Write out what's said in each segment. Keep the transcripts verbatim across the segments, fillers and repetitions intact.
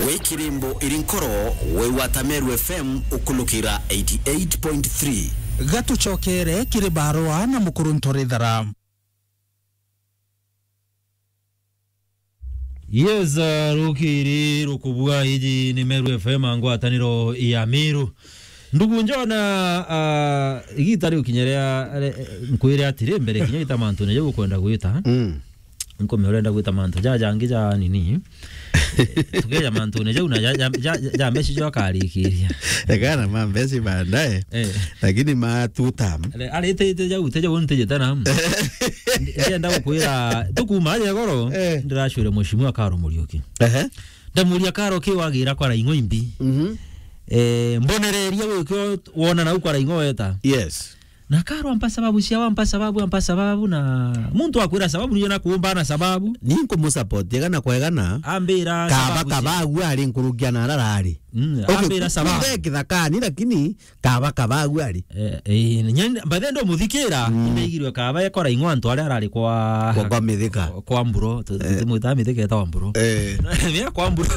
Wi kirimbo iri nkoro, wi wata Meru F M ukulukira eighty eight point three. Gatucokere kiri barua na mukuru Ntorithara. Yes, uh, rukiri rukubua, iji ni Meru F M, ngwataniro ya Meru. Ndugu Njona, uh, igita riu kinya ria, re-, nkwire atiri, mbere kinya gita mantune jau ukwenda gwita. Mm. Nkume urenda gwita mantu ja jangi ja nini. Tukeja mantune jau na ja, ja, ja, ja mbeca jo akarikiria. Ekana ma mbeca baadaye. Eh. Lakini ma two term. Ale-, aritite jau, te jau ntijite na. Ndi-, ndienda gukwira, tukuma aje goro, eh, ndiracwire Mheshimiwa Karo Muriuki. Ehe. Ndamuria, Karo, ki wagira kwa Raing'o imbi? Mhm. Eh, mbonereria wikio wona nau kwa Raing'o weta. Yes. Na Karo ampa sababu cia, ampa sababu, ampa sababu, na muntu akwira sababu, niyo na kuumba na sababu. Ni nkumusupport, egana kwa egana. Ambira kaba, sababu cia kaba agu ari nkurukia na ararari. Mm, okay, ambira sababu. Kumbe kithakani, lakini kaba, kaba agu ari. Eh, eh, nyani, by the way, ndo muthikira, mm, ndaigirwe kaba ekora ing'wa antu aria arari kwa, kwa, kwa mithika. Kwa mburo, tu-, eh, tumwita mithika etagwa mburo. Eh. Mia kwa mburo.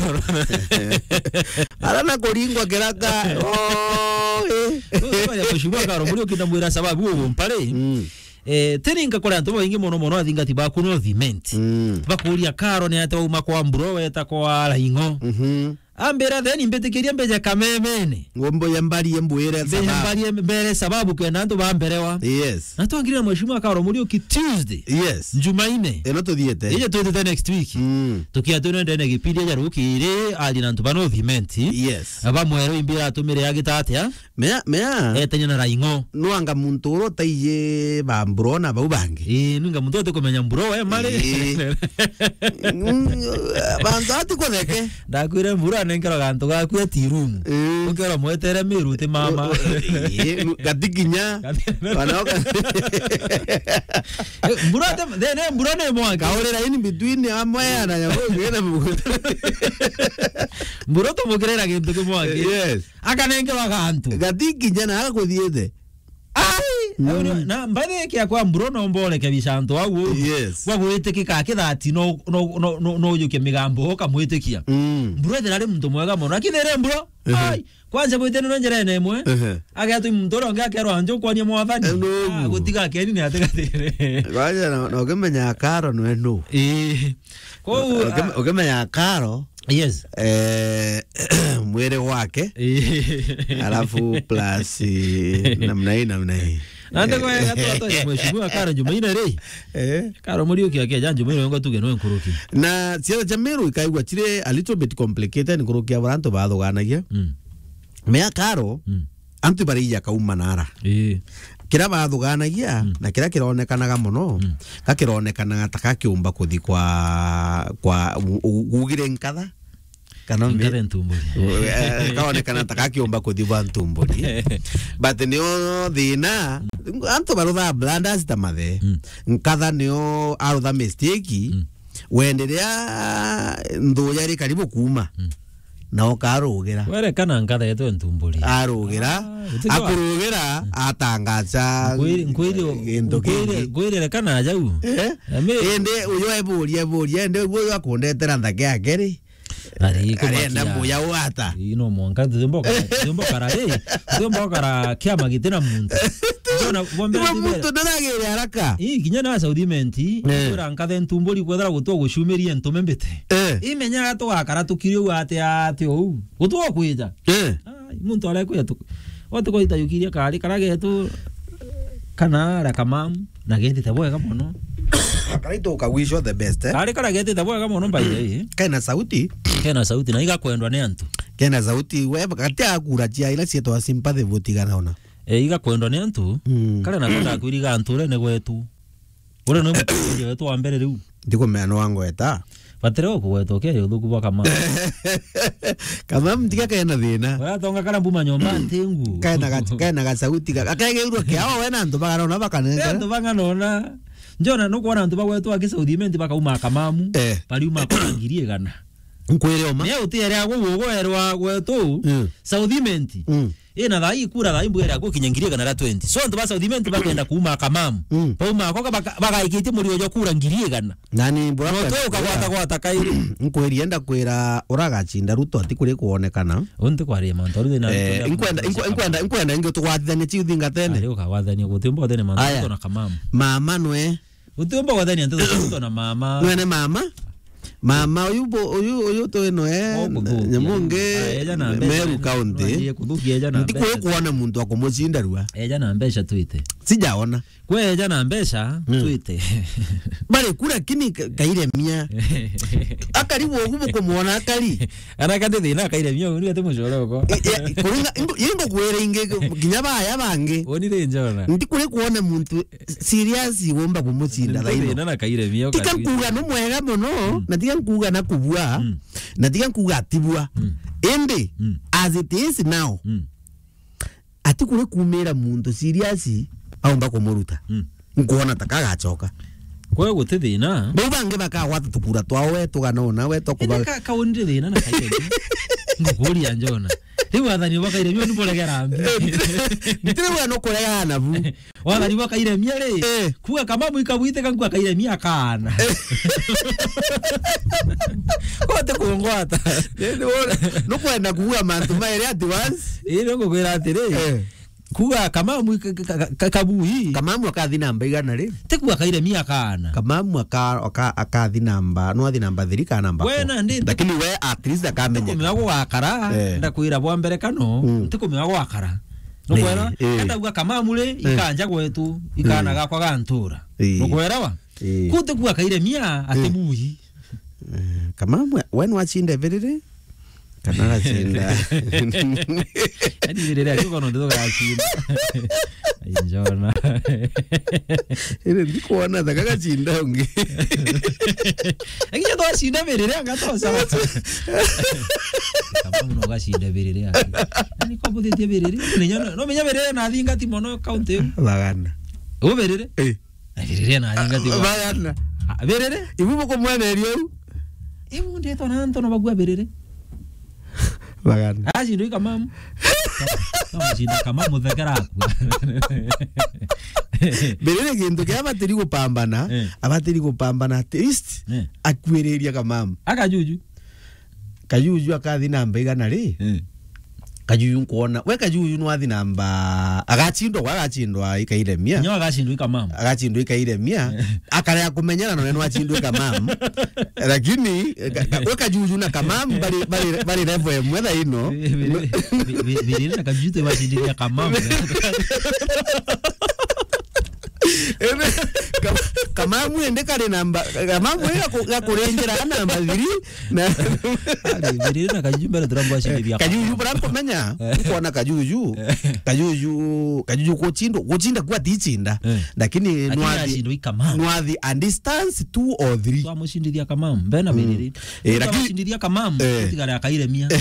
Ara na kuringwa kiraka. Oh, eh. Kwa ya Mheshimiwa Karo Muriuki ndamwira sababu uguo mpari. Mm. Eh, teni nkakora antu baingi mono mono athingati baku no thimenti. Mm. Bakuria, Karo, ni ate wauma kwa mburo weta kwa Raing'o. Mhm. Ambira, then mbitikirie mbeje kamemene. Ngombo ya mbari embwire sababu. Mbeje mbari embere sababu kenda antu bamberewa. Yes. Na twangire na Mheshimiwa Karo Muriuki Tuesday. Yes. Jumaine. Ino tuthiete. Ije tuthiete next week. Mm. Tukia twinendene gipindi ja rukiri, ari na antu ba no thimenti. Yes. Aba mwero imbira atumire agita atia? Mea, mea. Etenya na Raing'o. Nwanga muntu ura utaiji ba mburo na bau bangi. Ii, nwanga muntu utikumenya mburo we mari. Ii. Mm, bantu ati kutheke. Ndakwire mburo anenkerwa gantu gaku ati room. Ii. Ukera mwetere miru ti mama. U-, u-, ii, nu-, gati kinya. Gati- Bana oka- Eh, mburo te, thene mburo ni mwangi. Kaurira in between amwe ya na ya mungi na mungi. Mburo tumukirira gintu kimwangi. Yes. Akanenkerwa gantu. Gati kinya na agakuthiite. Ai! Mm. Na, na mbathi kia kwa mburo no mbore ke bicanto au. Yes. Kwa gwitikika kithati no, no, no, no, no ujuke migambo ukamwitikia. Mm. Mburo ethira ari muntu mwega mono. Lakini ere mburo, ehe, ai, kwanza bwite no njira ene imwe. Ehe. Agetwi muntu uria ungi akerwa njo kwania mwathani. Eh, no. Ah, gutiga keni ni atigatire. Kwanza no, no ukimenya Karo nwe no. Eh. Kou, ukim-, ah, ukimenya Karo, yes. Eh, mwiri gwake. Eh. Alafu plus, eh, namna hii, namna hii. Na ndego ya gatu atonya Mheshimiwa Karo Jumaine ri. Eh. Karo Muriuki akeja Jumaine ngo tuge no nkuruki. Na siasa cha Meru ikaigua chire a little bit complicated nkuruki ya barantu bathuganagia. Mm. Mea Karo, mm, antu bariija kauma nara. Ii. Kira bathuganagia, mm, na kira kironekanaga mono, mm, ka kironekanaga ta kakiumba kuthi kwa, kwa u-, u-, ugire nkatha. Kana me- nkatha ntumburi. Eh, kaonekana ta kakiumba kuthi bwa ntumburi. But nio thina, antu barutha blunders ta mathe. Mm. Nkatha nio arutha mistake, mm, wenderea nthuya iri karibu kuuma. Mm. Na ukarugira. Werekana nkatha yetu ntumburi. Arugira, ah, gutigwa- akurugira, mm, atangaza nkwiri, nkwiri, gintu nkwiri, kingi. Nkwiri rekana jau. Eh? Ame- indi uyu eburia, eburia, indi uyu akundetera nthake yake ri? Ari, arenda kumakia. Muya wata. Ii, no mwanka, tuthimba ukara, tuthimba ukara, ii, tuthimba ukara kiama giti na muntu. Ndona, bombe iwe muntu ndaragire haraka. Ii, kinya na South Imenti, eh, kwira nkathe ntumburi kwethira gutwa gucumiria ntume mbite. Eh. Imenyaga tugakara tukiri uu ati, ati uu. Gutwa kwija. Eh. Ai, muntu arekwija tu. Watu kwa itayukiria kari kara getu kana ara kamamu na getite bwega mono. Karaito ukagwicwo the best, eh? Kari kara getite bwega mono, by the way. Kena sauti. Kena sauti na igakwendwa ni antu. Kena sauti, we, gati ya kura cia ila cietwa sympathy vote igana ona. E, igakwendwa ni antu. Mm. Kare nako ndakwiriga antu urene gwetu. Ure no muturia wetu wa mbere riu. Ndikumenya no angweta. Batire o kugweta ukeri uthuku bwa kama. Kama mtiga kena thina. Uratonga kana mbuma nyomba ntingu. Kena ga-, kena ga sauti ga-, akegeirwo kiao we na antu bagana ona bakanenga. Antu bagana ona. Njona nukwona antu bagwetwa ki South Imenti bakauma kamamu. Eh. Bariuma kwa ngiri igana. Nkwire oma. Ni utiere agwo gwogo erwa gwetu. Mm. South Imenti. Mm. Ina thaa ii kura thaa ii mbwere akukinya ngiri igana ria twenty. So antu ba South Imenti bakenda kuuma Kamamu. Mm. Bauma ako baka-, bagaikitie murio jo kura ngiri igana. Na ni mbura. No tu ukagwata gwata kai. Nkwiri enda kwira uragacinda Ruto ati kuri kuonekana. Unti kwaria mantu aru thina. Eh, nkwenda, nkwe-, nkwenda, nkwenda ingi tugwatithanie ciu thingatene. Ari ukagwathania guti mbo thene mantu. Aya. Ruto na Kamamu. Mama nwe. Utiumba gwathania nteto cia Ruto na mama. Nwene mama. Mama uyu bo-, uyu, uyu twi noe, Nyamungi, Meru County. Ntikuri kuona muntu akumucinda rua. Eja na mbeca twite. Sijaona. Kwe eja na mbeca, mm, twite. Bari ku lakini ka-, kairemia. Akari wogu bukumwona akari. Ana kati thina kairemia, uni ati mucoroko. I-, i-, kuringa, ingo-, ingo kwira ingi, kinya baya bangi. Oni ri njona. Ntikuri kuona muntu serious womba kumucinda thaino. Nthina na kairemia. Tika nkuga no mwega mono, mm, na tika nkuga na kubua, mm, na tika nkuga atibua. Mm. Indi, mm, as it is now, mm, ati kuri kumira muntu serious aomba kumuruta. Mm. Nkuona ta kagacoka. Kwa guti thina. Bau bangi bakagwata tukura twao we tugana ona we tokuba. Indi ka-, kaunire thina na kairemia. Ngukuria njona. Riu wathani bwa kairemia ni buregera mbi. Eh, ntire, ntire we no kuregana bu. Wathani bwa kairemia ri, eh, kuga Kamamu ikabwiteka nkua kairemia akaana. Eh. Kote kungwata. Ni, ni wona, nukwenda kuuga mantu mairi at once. Ii, ni ngukwira atiri, eh, kuga Kamamu ka-, ka-, ka-, ka-, kabui. Kamamu akathi namba igana ri? Ti kuga kairemia akaana. Kamamu aka-, aka-, akathi namba, no athi namba three kana namba four. We na ndi. Lakini we at least akamenya. Kumenya gugakara, eh, ndakwira bwa mbere kano, mm, ntikumenya gugakara. Nukwera, eh, eh, kenda uga Kamamu ri, eh, ikanja gwetu, ikana, eh, gakwa gantura. Eh. Nukwerawa? Eh. Kuti kuga kairemia ati, eh, bui. Eh, Kamamu, we nwacinde biriri? Kana gacinda? Yaani biriri akiuga no nditho gacinda. Ai, njona. Iri ndikuona ta gagacinda ungi. Lakini twacinda biriri anga twaca. Kamamu no gacinda biriri aki. Yaani kwa buthitie biriri. Menya no, no menya biriri na thingati mono county. Bagana. U biriri? Eh. Na biriri na thingati. Bagana. Ah, biriri? Ibu bukumweneria u? Ibu ndetwa na antu no bagua biriri. Bagana. Acindwa i Kamamu. Kamucinda Kamamu thekera akua. Biriri gintu kia abatiri gupambana, eh, abatiri gupambana at least, eh, akuiriria Kamamu. Akajuju. Kajuju akathi namba igana ri? Eh. Kajuju nkwona. We Kajuju nwathi namba, agachindwa, gwa agachindwa i Kairemia. Nyo agachindwa i Kamamu. Agachindwa i Kairemia. Eh. Akarea kumenyana nawe nwachindwa i Kamamu. Lakini, ka-, ka-, we Kajuju na Kamamu bari, bari, bari level emwe thaino. Bi-, bi-, bi-, bi-, Biriri na Kajuju tibacindithia Kamamu. Ene, Ka-, Kamamu ende kari namba, Kamamu ende gaku-, gakuringira namba three, na Ari, Biriri na Kajuju mbere turambwa acindithia Kajuju Kamamu. Bara kumenya, eh, kuona Kajuju, eh, Kajuju, Kajuju kuchinda, kuchinda kwa tichinda. Eh. Lakini, lakini nwathi, acindwa i Kamamu. Nwathi a distance two or three. Twamucindithia Kamamu, mbena, mm, Biriri. Eh, lakini twamucindithia Kamamu, eh, gutigara Kairemia. So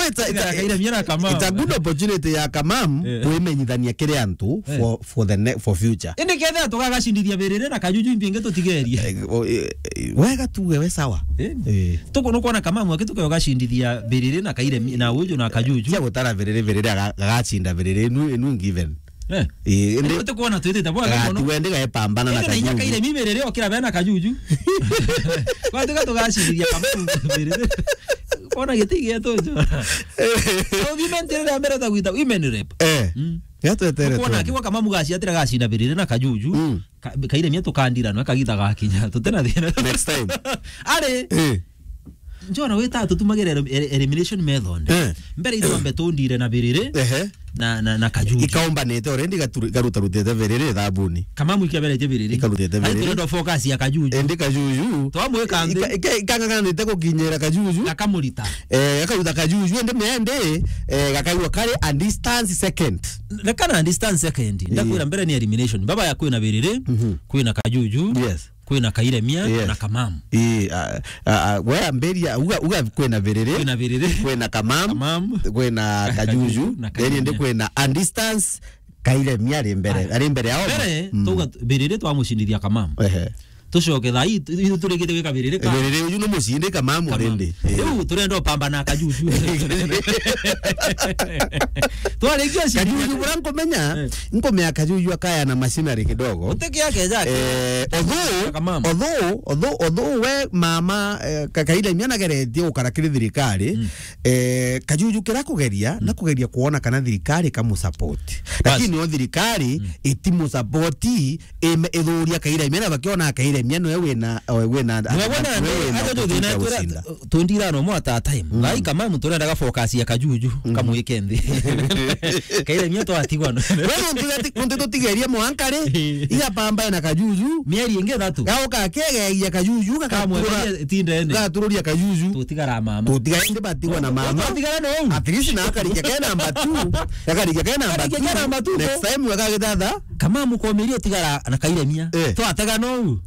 it's a, it's a, Kairemia na Kamamu. It's a good opportunity ya Kamamu, eh, kwimenyithania kiri antu, eh, for, for the ne-, for future. Indi kethira tugagacindithia Biriri na Kajuju imbi ingi tutigerie. Eh, o, eh, eh, wega tuge we sawa. Eh. Eh. Tuku nukwona Kamamu aki tuke ugacindithia Biriri na Kairemia na uju na Kajuju. Cia gutara Biriri, Biriri aga-, agacinda Biriri, inu, inu given. Eh. Eh, indi indi tukwona twitite bwa, ah, mono. Tuende gae pambana na Kajuju. Indi na inya Kairemia Biriri okira bena Kajuju. Kwa tuga tugacindithia Kamamu Biriri. Kona giti gietu njo. Au women ria mbere ta gwita women rep. Eh. Mm. Gatwetere. Kuona tu. Akiwa Kamamu gaciatira gacinda Biriri na Kajuju. Mm. Ka-, Kairemia tukandira no kagita gakinya. Tutena thina. Next time. Ari. Eh. Njona wita tutumagire el-, el-, elimination method. Eh. Mbere itwambe tundire na Biriri. Ehe. Na, na, na Kajuju. Ikaumbanite already igatu-, ikarutarutite Biriri thabuni. Kamamu ikaberetie Biriri. Ikarutite Biriri. Ari turenda focus ya Kajuju. Indi Kajuju. Twamwika nthi. Ika-, ika-, ikanganganite gukinyira Kajuju. Gakamurita. Eh, gakaruta Kajuju, indi mende, eh, gakaigua kari a distance second. Reka na distance second. Ii. Ndakwira mbere ni elimination. Baba ya kwina Biriri, mhm, kwina Kajuju. Yes. Kwina Kairemia, eh, na Kamamu. Ii, a, a, a, we ambiria, uga, uga kwina Biriri, kwina Biriri, kwina Kamamu, Kamamu, kwina Kajuju, Kajuju, na then indi Kairemia. Kwina a distance Kairemia ari mbere, aya, ari mbere yao. Mbere, mm, tuga Biriri twamucindithia Kamamu. Ehe. Tucoke thaa ii, tu-, tu-, turikite gwika biriri ka-, Biriri uju ni mucindi Kamamu Kamamu. Already. Eh. Riu turenda upambana na Kajuju. Twarikia cindi Kajuju bura nkumenya, Eh. nkumenya Kajuju akaya na machinery kidogo. Uteke yake jake. Eh, although, Kamamu. although, although, although we mama, eh, ka-, Kairemia nageretie gukara kiri thirikari, Mm. eh, Kajuju kira kugeria, Mm. na kugeria kuona kana thirikari kamusupport. Bas. Lakini o thirikari Mm. itimusupport, ime-, ithuria Kairemia, na bakiona Kairemia niwe wina, o, wina, Niwe wona niwe nde, wina aja tuthina opportunity ya twira, gucinda. Twenty-one mwa at a time. Mm. Bai Kamamu turendaga focus ya Kajuju, Mm. kamwike nthi. Kairemia twatigwa no. Wewe ntu gati-, ntu tutigeria mwanka ri, iga pamba na Kajuju. Mieri ingi ithatu. Gauka kegegia Kajuju, Kamwe gakatururia, tindene. gatururia Kajuju. Tutigara mama. Tutiga indi batigwa na mama. Twatigara no. At least na akarikia ke number two. Akarikia ke number Akarikia ke two. number two, Next ko. time wega githatha. Kamamu komeria utigara na Kairemia. Eh. Twatega no.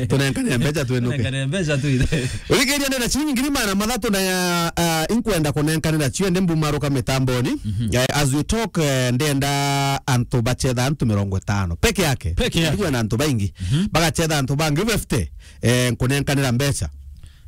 Tunenkanire mbeca twenuke. Tunenkanire mbeca tuithe. Urikiria ndenda ciringi ngiri magana mathatu na ya, ah, inkwenda kunenkanira cio ndi mbumaruka mitamboni. Mhm. Eh, as we talk, eh, ndenda antu bachetha antu mirongo itano peke yake. Peke yake. Ndigwe na antu baingi. Mhm. Bagachetha antu bangi fifty, eh, nkunenkanira mbeca.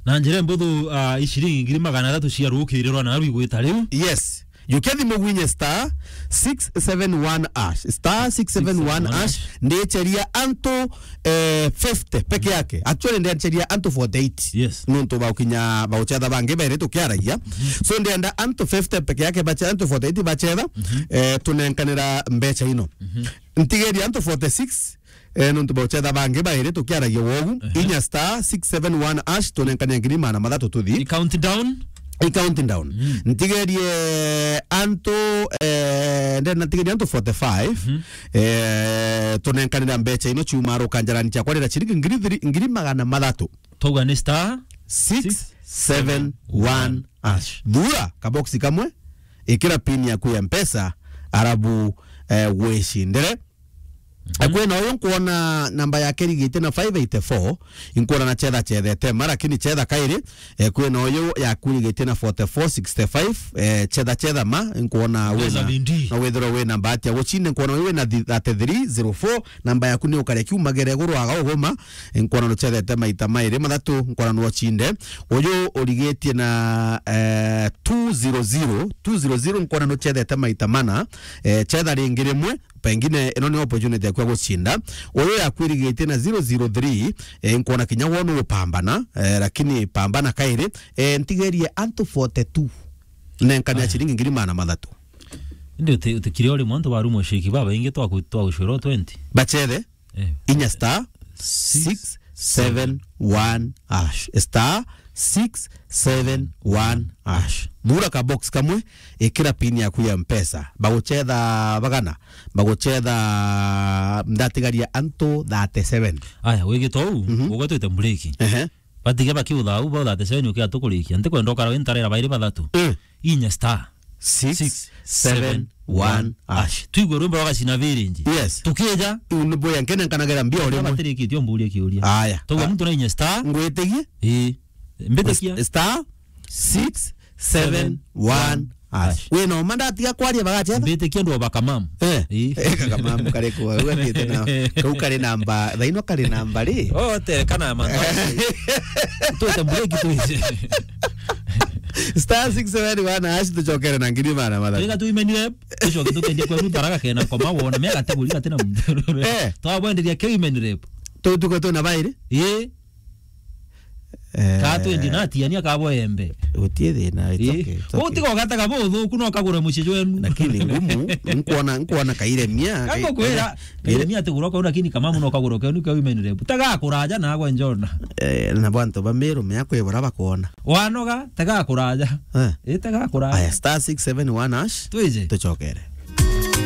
Na njira mbuthu, ah, iciringi ngiri magana athatu cia rukirirwa na rwigwita riu. Yes. Jukia thimu gwinye star six seven one hash. Star six seven one hash. Ndicheria antu, eh, fifty peke yake. Actually, ndicheria antu forty-eight. Yes. Nuntu ba ukinya ba uchetha bangi beri tukiaragia. Mhm. So, ndienda antu fifty peke yake bache-, antu forty-eight bachetha, Mhm. eh, tunenkanira mbeca ino. Mhm. Ntigeria antu forty-six, eh, nuntu ba uchetha bangi bairi tukiaragia wogu. Ehe. Inya star six seven one hash, tunenkania ngiri magana mathatu tuthi. I count down? I count down. Mm. Ntigerie antu, eh, ndenda ntigerie antu forty-five, Mhm. eh, tunenkanira mbeca ino ciuma rukanjarani ciakwa rira ciringi ngiri thiri-, ngiri magana mathatu. Twauga ni star six seven one hash. Thura kaboksi kamwe, ikira pin yaku ya Mpesa, arabu, eh, wicindire. Mhm. Eh, kwina uyu nkuona namba yake irigite na five eighty-four, inkuona na chetha chethete ma, lakini chetha kairi, eh, kwina uyu yaku irigite na forty-four sixty-five, eh, chetha chetha ma, inkuona Mpesa wina, bindi. Na withirwa wina bahati ya gucinde, nkuona uyu wina thi-, thirty-three zero four, namba yaku ni ukaria kiumagere iguru aga uguma, nkuona nuchethete maita mairi mathatu, nkuona nuocinde. Uyu urigitie na, eh, two zero zero, two zero zero, nkuona nuchethete maita mana, eh, chetha ringi rimwe, pengine ino ni opportunity yaku ya gucinda. Uyu yakwirigitie na zero zero three, eh, nkuona kinya wona upambana, eh, lakini pambana kairi, eh, ntigerie antu forty-two. Nenkania Aya. Ciringi ngiri magana mathatu. Indi uti-, utikire uri muntu waru muciki babaingi twaku-, twagucwirwo twenty. Bachethe? Eh. Inya star six seven one hash. Star six seven one hash. Thura ka box kamwe, ikira pin yaku ya Mpesa. Baguchetha bagana, baguchetha ndatigaria antu thirty-seven. Aya, wigite uu, Mhm. ugwetwite mburiki. Ehe. Batige bakiutha uu, ba thirty-seven ukia tukurikia. Ntikwenda ukara wi ntarera bairi bathatu. Eh. Inya star six seven one hash. Twigue rwimbo rwa Gacina Village. Yes. Tukija. Iu ni boya nkene nkanagira mbia o rimwe. Batirikitie umburie kiuria. Aya. Tauga muntu na inya star. Ngwitigie? Ii. Mbitikia. Star six seven one hash. Wina uma ndatiga kwaria bagachetha? Mbitikia ndo baka mam. Eh. Ii. Eh, kaka mam kare kwa. Uga thiete na. Kau kare namba. Thaino kare namba ri? Oh, te kana man. Tuite mbureki tuite. Star six seven one hash tuchokere na ngiri magana mathatu. Twega tu imenire, tucoke tukendie kwa ruta raga kena koma wona, mea gateguri gatina muntu. Eh. Twabwenderia ke imenire. Tu tuko tu na bairi? Ii. Eh. Ka twendi na tiania ka bo embe. Gutie thina, it's Ii. Okay, it's okay. Utiga ugataga bo uthuku no kagure mucii jwenu. Lakini ngumu, nkuona, nkuona kairemia. Kako kwira, kairemia atigurwa kau, lakini kamamu no kagure kenu ka women rep. Taga kuraja na agwe njona. Eh, na bantu ba Meru mea kwibura bakuona. Wanoga, taga kuraja. Eh. Ii, taga kuraja. Aya, star six seven one hash. Twije. Tuchokere.